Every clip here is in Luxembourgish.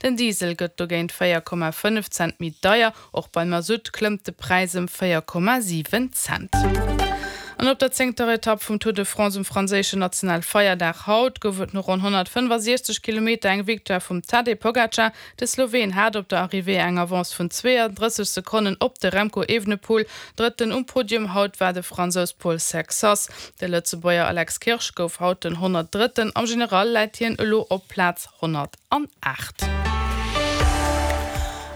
Den Diesel gëtt dogéint 4,5 Cent méi deier. Och beim Masutt klëmmt de Präis ëm 4,7 Cent. An op der zéngter Etapp vum Tour de France um franséischen Nationalfeierdag haut gouf et no ronn 165 Kilometer eng Victoire vum Tadej Pogacar. De Sloween hat op der Arrivée eng Avance vun 32 Sekonnen op de Remco Evenepoel. Drëtten um Podium haut war de Fransous Paul Sexas. De Lëtzebuerger Alex Kirsch gouf haut den 103. Am General läit hien elo op Plaz 108.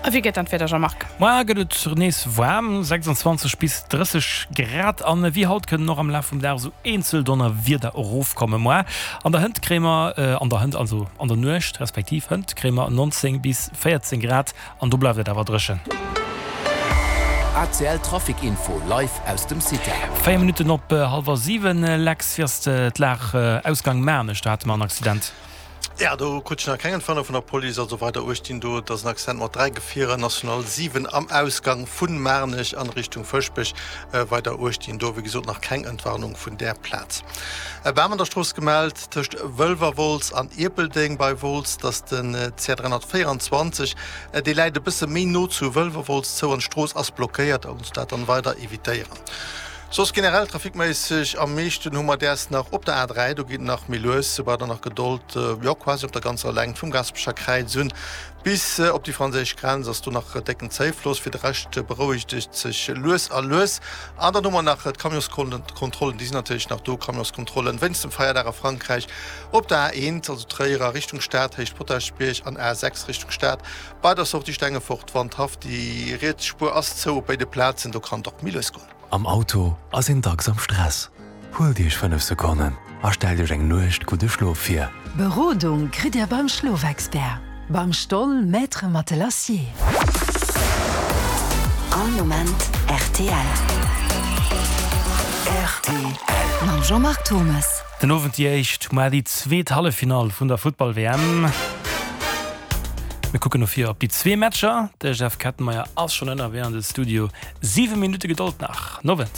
A wéi gëtt dann d'Wieder, Jean-Marc? Moar gëtt et nees waarm, 26 bis 30 Grad, an wéi haut kënnen och am Laf vum Dag esou eenzel Donnerwieder erofkommen. Moar an der Hënt kréie mer, an der Hënt, also an der Nuecht respektiv Hënt, kréie mer 19 bis 14 Grad an do bleift et awer dréchen. ACL Trafic Info live aus dem Cita. 4 Minutten op hallwer 7, Lex, wéi ass d'Lag Ausgang Maarnech? Do hate mer en Accident. Ja, do krut ech nach keng Entwarnung vun der Police. Also weider uechtinn do, et ass en Accident mat 3 Gefierer, National 7 am Ausgang vun Maarnech an Richtung Fëschbech. Weider uechtinn do, wéi gesot, nach keng Entwarnung vun där Plaz. E Bam an der Strooss gemellt tëscht Wëlwerwolz an Ierpeldeng bei Wolz. Dat ass den CR 324. Dee läit e bësse méi no zu Wëlwerwolz zou an d'Strooss ass blockéiert. Also dat dann weider evitéieren. Soss generell trafikméisseg am meeschten hu mer däers nach op der A3, do geet et nach méi lues, sou braucht der nach Gedold, jo quasi op der ganzer Längt vum Gaasperecher Kräiz un bis op déi franséisch Grenz ass do nach décken Zéifloss. Fir de Rescht berouegt et sech lues a lues. An dann hu mer nach d'Camionskontrollen, déi sinn natierlech nach do, Camionskontrollen wéinst dem Feierdag a Frankräich op der A1, also Tréier a Richtung Stad, Héicht Potaschbierg an A6 Richtung Stad bei der Sortie Stengefort, Wandhaff. Déi riets Spuer ass zou op béide Plazen, do kann et och méi lues goen. Am Auto ass een dacks am Stress. Huelt Iech 5 Sekonnen a stellt Iech eng Nuecht gudde Schlof vir. Berodung kritt Dir beim Schlofexpert, beim Stoll Maître Matelassier. All Moment rtl. Rtl. Mam Jean-Marc Thomes. Den Owend déi éischt, muar déi zweet Halleffinall vun der Futtball-WM. Mir kucken no vir op déi zwee Matcher. De Jeff Kettenmeyer ass schonn ënnerwee an de Studio. 7 Minutte Gedold nach. Nowend.